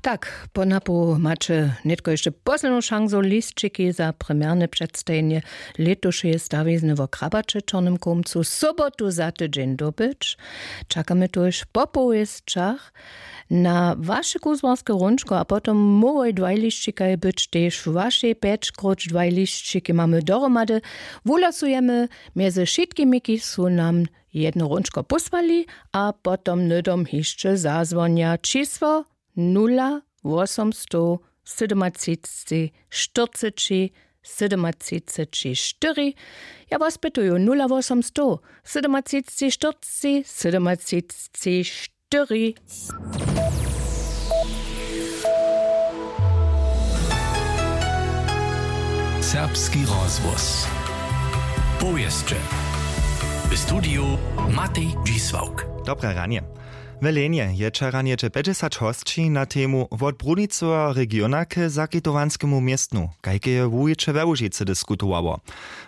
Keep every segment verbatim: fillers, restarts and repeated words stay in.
Tak, po napołu maće nětko hišće poslednu šansu lisćiki za premjerne předstajenje lětušeje stawizny wo krabaće w čornym kołmcu sobotu za tydźeń dobyć. Čakamy tuž po powěsćach na waše kuzłarske hrónčko a potom móhłoj dwaj lisćikaj być tež wašej pjeć króć dwaj lisćiki mamy dohromady. Wuhlasujemy mjezy wšitkimi kiž su nam jedno hrónčko pósłali a potom hnydom hišće zazwonja. Čisło nula wosomstow sydomatřiceći štyrceći sydomatřiceći štyri. Ja was pytuju nula wosomstow sydomatřiceći štyrceći sydomatřiceći štyri. Serbski rozhłos. Powěsće. W studiju Matej Dźisławk. Dobre ranje. W Lenje je wčera něhdźe pjećdźesać hosći na temu wot brunicoweho regiona k zakitowanskemu městnu, kajke je wuwiće we łužicy diskutowało.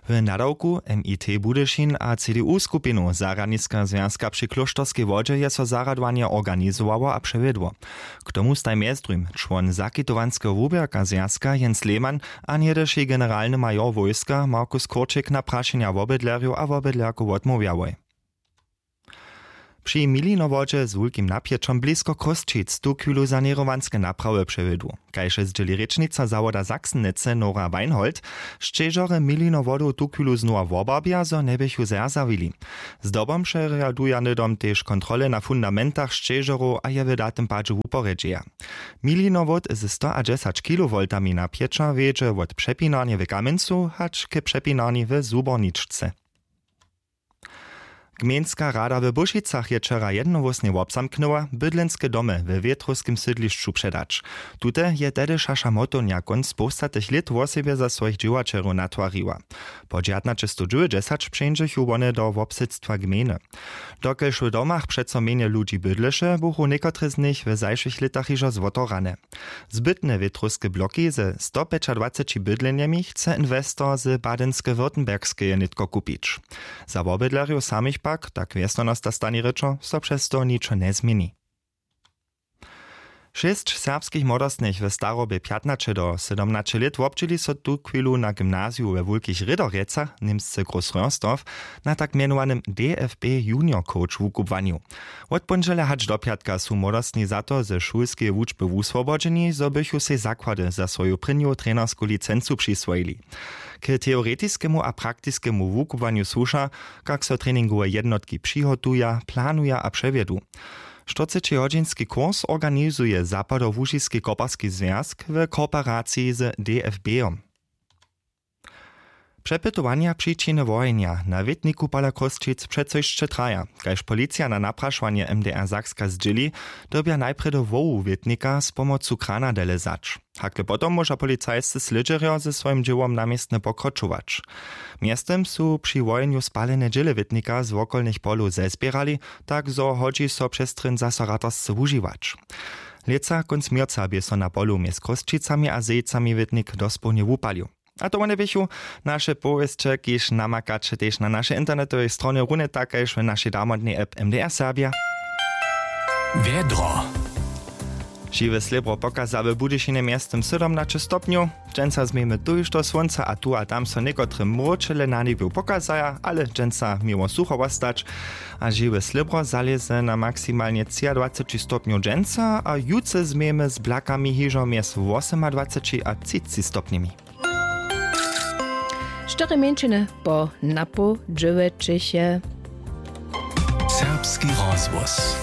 W nadawku mit budyšin a cdu skupinu zarjadniska zwjazka při klóšterskej wodźe je so zarjadowanje organizowało a přewjedło. K tomu staj mjezdrujm čłon zakitowanskeho wuběrka zwjazka jens lehmann a něhdyši generalny major wójska markus kurčik na prašenja wobydlerjow a wobydlerkow wotmołwjałoj. Při milinowodźe z wulkim napjećom blisko chrósćic tuchwilu saněrowanske naprawy přewjedu. Kaž je zdźěli rěčnica zawoda saksenicy nora weinhold, šćežorje milinowodow tuchwilu znowa wobarbja zo njeběchu zerzawili. Zdobom přerjaduja hnydom tež kontrole na fundamentach šćežorow a je w datym padźe wuporjedźeja. Milinowod ze stoadźesać kilowoltami napjeća wjedźe wot přepinarnje w kamjencu hač k přepinarni w suborničce. Gmejnska rada w bóšicach je wčera jednohłósnje wobzamknyła bydlenske domy we wětrowskim sydlišću předać. Tute je tehdy šaša motownja kónc połstatych lět wosebje za swojich dźěłaćerjow natwariła. Pod žadnaćestowdźewjećdźesać přeńdźechu wone do wobsydstwa gmejny. Dokelž w domach přeco mjenje ludźi bydleše buchu někotre z nich w zašłych lětach hižo zwotorane. Zbytne wětrowske bloki ze stopjećadwaceći bydlenjemi chce inwestor z badenske württembergskeje nětko kupić. Za wobydlerjow samych pak tak wjesnjanosta stani rěčo so přez to ničo njezměni. Šěsć serbskich młodostnych w starobje pjatnaće do sydomnaće lět wobdźěli so tuchwilu na gymnaziju we wulkich rěderjecach, němsce großröhrsdorf, na tak mjenowanym dfb junior coach wukubłanju. Wot póndźelja hač do pjatka su młodostni za to ze šulskeje wučby wuswobodźeni zo bychu sej zakłady za swoju prěnju trenersku licencu přiswojili. K teoretiskemu a praktiskemu wukubłanju słuša, kak so treningowe jednotki přihotuja, planuja a přewjedu. Štyrcećihodźinski kurs organizuje zapadołužiski koparski zwjazk w kooperaciji z dfb-om. Přepytowanja přičiny wohenja na wětniku pola chrósćic přeco hišće traja. Kaž policija na naprašowanje mdr sakska zdźěli, dyrbja najprjedy hłowu wětnika z pomocu krana dele zać. Hakle potom móža policajscy slědźerjo ze swojim dźěłom na městnje pokročować. Mjeztym su při wohenju spalene dźěle wětnika z wokolnych polow zezběrali, tak zo hodźi so přestryn zaso ratarsce wužiwać. Lětsa kónc měrca bě so na polu mjez chrósćicami a zejcami wětnik dospołnje wupalił. A to wone běchu naše powěsće, kiž namakaće tež na našej internetowej stronje runje tak kaž w našej damodnej app mdr serbja. Wjedro. Žiwe slěbro pokaza w budyšinje mjeztym sydomnaće stopnjow. Dźensa změjemy tuž do słónca a tu a tam so někotre mróčele na njebju pokazaja, ale dźensa měło sucho wostać. A žiwe slěbro zalěze na maksimalnje třiadwaceći stopnjow dźensa a jutře změjemy z blakami hižo mjez wosymadwaceći a třiceći stopnjemi. Štyri mjeńšiny po napoł dźěłećich je. Serbski rozhłos.